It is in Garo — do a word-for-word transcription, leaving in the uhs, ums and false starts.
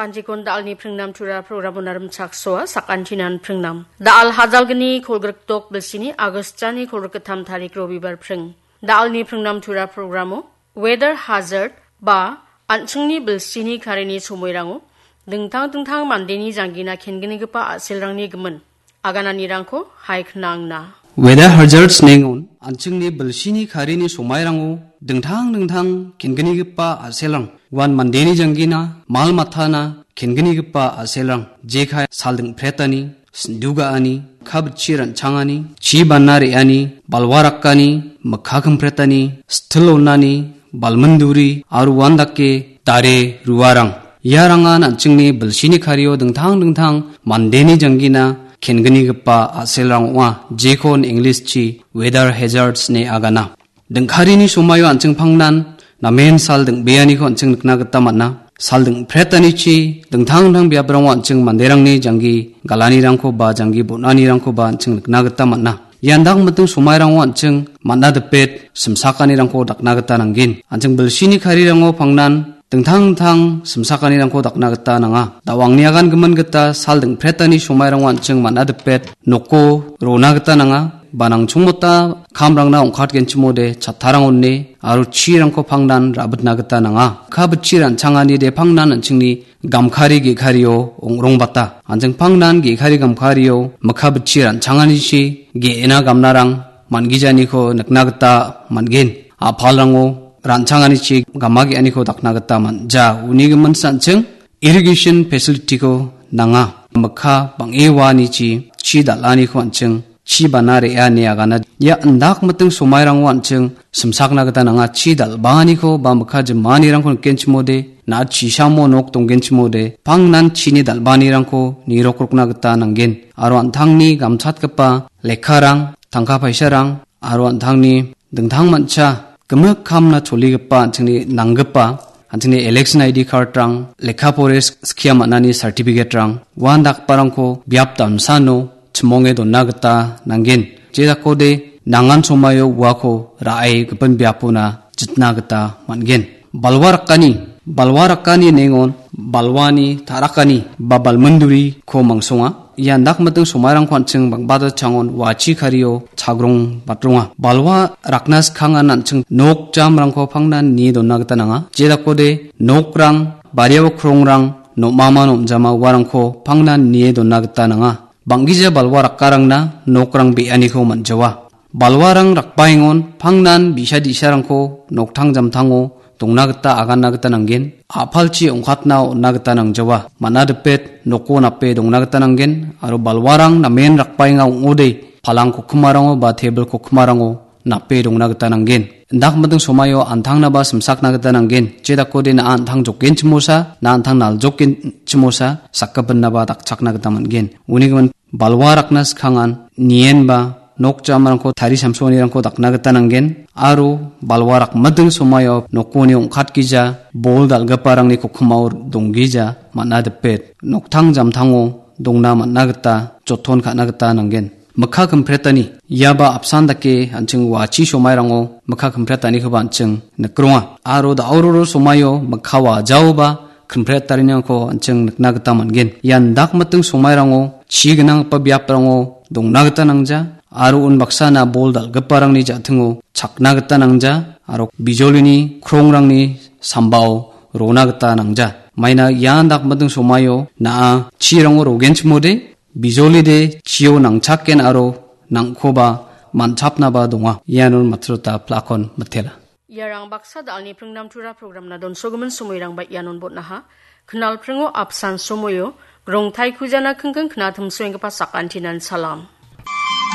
Antikon da·alni pringnam tura programo narim chaksoa sakantinan pringnam. Da·al hajalgni kolgrikdok bilsini Agostani kolgrikgittam tarik Robibar pring. Da·alni pringnam tura programo weather hazard ba an·chingni bilsini karini somoirango dingtang dingtang mandeni janggina kenggipa a·selrangni gimin agananirangko hai knangna. Weather hazards nengon an·chingni bilsini karini somairango dingtang dingtang kenggipa a·selrang uan mandeni janggina, mal matana kenggipa a·selrang jekai sal dingpretani, sindu ga·ani, kabchi ran·changani, chi bana re·ani, balwa rakani, mikka kimpretani, sitil onani, balminduri, aro uandake dare ruarang. Iarangan an·chingni bilsini kario dingtang dingtang mandeni janggina kenggipa a·selrang ong·a, jekon English-chi weather hazards ine agana. Dingkarini somaio an·ching pangnan namen sal dingbeaniko an·ching nikna gita man·a. Sal dingpretanichi dingtang dingtang biaprango an·ching manderangni janggi galanirangko ba janggi bon·anirangko ba an·ching nikna gita man·a. Ian dakmiting somairango an·ching man·a dipet simsakanirangko dakna gita nanggen. An·ching bilsini karirango pangnan dingtang dingtang simsakanirangko dakna gita nanga. Da·o angni agan gimin gita sal dingpretani somairango an·ching man·a dipet noko rona gita nanga. Ba nangchongmota kamrangna ong·katgenchimode chattarang one aro chirangko pangnan rabitna gita nanga. Kabchi ran·changani de pangnan an·chingni gamkari ge·kario ong·rongbata. An·ching pangnan ge·kari gamkario mikka bitchi ran·changanichi ge·ena gamnarang man·gijaniko nikna gita man·gen. A·palrango ran·changanichi gama ge·aniko dakna gita man·ja. Uni gimin an·ching irrigation facility-ko nanga. Mikka bang·e uanichi chi dal·aniko an·ching chi bana re·a ine agana. Ia indakmiting somairango an·ching simsakna gita nanga. Chi dal·baaniko ba mikka jimanirangko nikenchimode, na·a chisamo nok donggenchimode, pangnan chini dal·baanirangko nirokrokna gita nanggen. Aro an·tangni gamchatgipa lekkarang, tangka paisarang, aro an·tangni dingtang mancha gimik kamna choligipa an·chingni nanggipa, an·chingni election I D card-rang, lekka pore sk-, skia man·ani certificate-rang, uandakgiparangko biap damsano chimonge donna gita nanggen. Jedakode nangan somaio uako ra·e gipin biapona jitna gita man·gen. Balwa rakani, balwa rakani nengon balwani ta·rakani ba balminduriko mangsonga. Ia indakmiting somairangko an·ching bang·bata changon wachi kario chagrong batronga. Balwa rakna skangan an·ching nok jamrangko pangnan nie donna gita nanga. Jedakode nokrang, bariao krongrang, nom·ama nom·jama uarangko pangnan nie donna gita nanga. Bang·gija balwa rakkarangna nokrang be·aniko man·jawa. Balwarang rakbaengon pangnan bi·sa di·sarangko noktang jamtango dongna gita aganna gita nanggen. A·palchi ong·katna on·na gita nangjawa. Man·a dipet noko nape dongna gita nanggen. Aro balwarang namen rakbaenga ong·ode palang kokkimarango ba tebil kokkimarango nape dongna gita nanggen. Indakmiting somaio an·tangnaba simsakna gita nanggen. Jedakode na·a an·tang jokgenchimosa, na·a an·tang naljokgenchimosa, sakgipinaba dakchakna gita man·gen. Uni gimin balwa rakna skangan nienba nok jamrangko tari samsonirangko dakna gita nanggen. Aro balwa rakmiting somaio nokoni ong·katgija bol dal·giparangni kokkimao donggija man·a dipet noktang jamtango dongna man·a gita joton ka·na gita nanggen. Mikka kimpretani, iaba apsan dake an·ching wachi somairango mikka kimpretanikoba an·ching nikronga. Aro da·o roro somaio mikka wajaoba kimpretariniko an·ching nikna gita man·gen. Ian dakmiting somairango chi gnanggipa biaprango dongna gita nangja, aro unbaksana bol dal·giparangni ja·tingo chakna gita nangja, aro bijolini krongrangni sambao rona gita nangja. Maina ian dakmiting somaio na·a chirango rogenchimode, bijolide chio nangchaken aro nangkoba manchapnaba donga. Ianon matrota plakon mitela. Iarang baksa da·alni pringnam tura programna donsogimin somoirangba ianon botnaha. Knalpringo apsan somoio, rongtai kujana kingking knatimsoenggipa sakantinan salam.